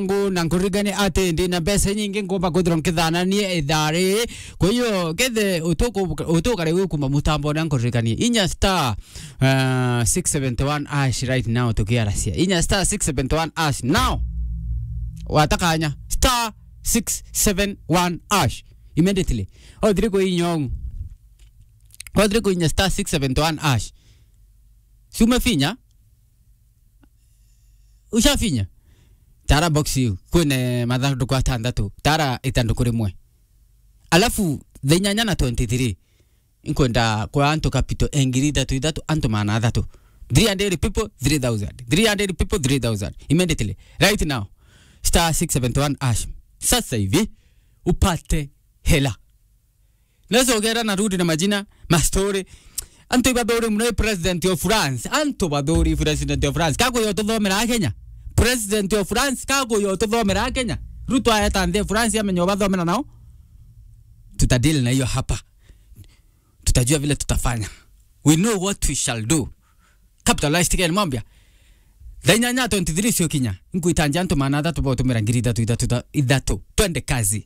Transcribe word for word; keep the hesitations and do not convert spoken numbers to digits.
Ngu na nkuririkanie ati ndi na mbeca nyingi ngomba kwithirwa nkithanania ithaa riri. Kwa hiyo, kethe utuku-, utukare wi kuma mutambo na nkuririkanie. Inya star, uh, six seventy one hash right now tukiaracia. Inya star six seventy one hash now. Watakanya star six seven one hash. Immediately. Othiri kuinya uu. Othiri kuinya star six seventy one hash. Si umefinya? Ushafinya? Tara box iu. Kwina mathanduku atandatu. Tara itanduku rimwe. Alafu, thaa inyanya na twenty-three, inkwenda kwa antu capital e ngiri ithatu ithatu, antu maana athatu. Three hundred people, three thousand. Three hundred people, three thousand. Immediately. Right now. Star six seventy one hash. Sasa hivi, upate hela. Nacogera na rudi na majina, ma story. Antu ibathuri muno i president of France. Antu bathuri president of France. Kakuya ututhomera a Kenya. President of France, kakuya ututhomera a Kenya. Ruto aeta nthi ya France amenya ubathomera nao. Tutadeal na hiyo hapa. Tutajua vile tutafanya. We know what we shall do. Capitalist Ken Mwambia. Thaa inyanya twenty-three cio kinya. Nkwitanja antu maana athatu botumira ngiri ithatu, ithatu, ithatu. Twende kazi.